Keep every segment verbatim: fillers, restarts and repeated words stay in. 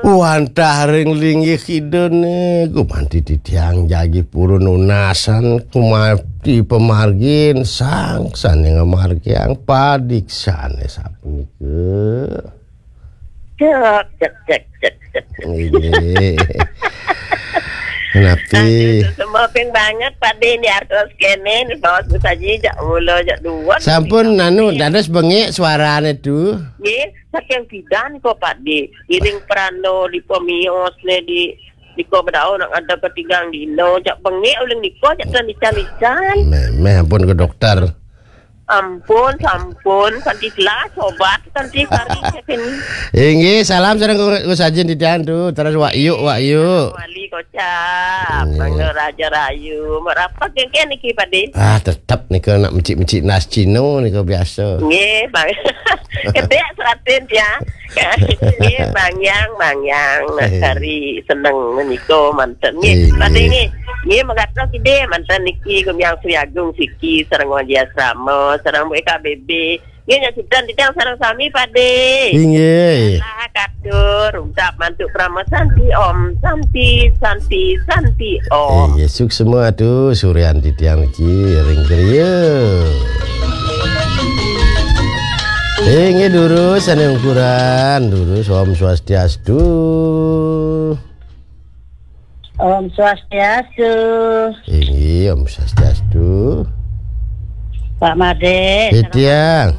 Wantah ring linggih Ida né, gumanti titiang jagi purun nunasan, gumanti pamargin, sang sané ngamargiang padiksané sapunika. Cek, cek, cek, cek, cek. Inggih. Napi? Aduh, semua ping banget, Pak Dé, ini artos kéné, ini bawas Bu Saji, jak mula, jak duwon. Sampun, anu, dados bengek suarane tu. Nggih, saking pidan kok, Pak Dé. Iring prano di pemios né di, di ko bedau nak ada ketigang dino, jak bengek uling niko, jak tan ican-ican. Meh, meh, ampun ke dokter. Ampun, sampun, kanti telah sobat, kanti kari, cekin. Inggih, salam sareng Gus Ajin titiang tu. Terus Wak Yuk, Wak Yuk. Wali kocap, Inggih. Mangga Raja Rayu. Merapat kengken niki, Pak Dé. Ah, tetep nika nak mecik-mecik nas Cino nika biasa. Nggih, Bang. Kedek seratin ya. Nggih, Bang Yang, Bang Yang. Nak Eh. Cari seneng menika manten. Nggih, Eh, Pak Dé nggih. Nggih. Nggih, megatos Ide manten niki Gumiang Sri Agung siki sareng Waji Asrama, sareng B K B B. Nggih, nyaksikan titiang sareng sami, Pak Dé. Inggih. Salah katur, ucap mantuk Parama Santi Om, Santi, Santi, Santi Om. Inggih, suksma tu Suryan titiang niki ring griya. Inggih, durus ane ungkuran, durus Om Swastiastu. Om Swastiastu. Inggih, Om Swastiastu. Pak Madé. Titiang.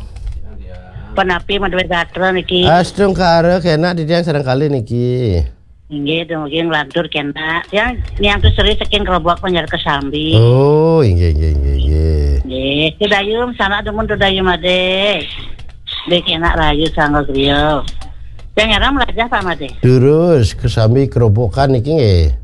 Penapi madué gatra niki. Astungkara kenak titiang sareng kalih niki. Inggih, dumugi nglantur kenak. Tiang niang tu seri saking Kerobok Banjar Kesambi. Oh, inggih, inggih, inggih, inggih. Nggih, Ida Dayu, sanak dumun Ida Dayu Madé. Nggih, kenak rahayu sangga griya. Tiang nyaram lajah Pak Madé. Durus, Kesambi Kerobokan niki nggih.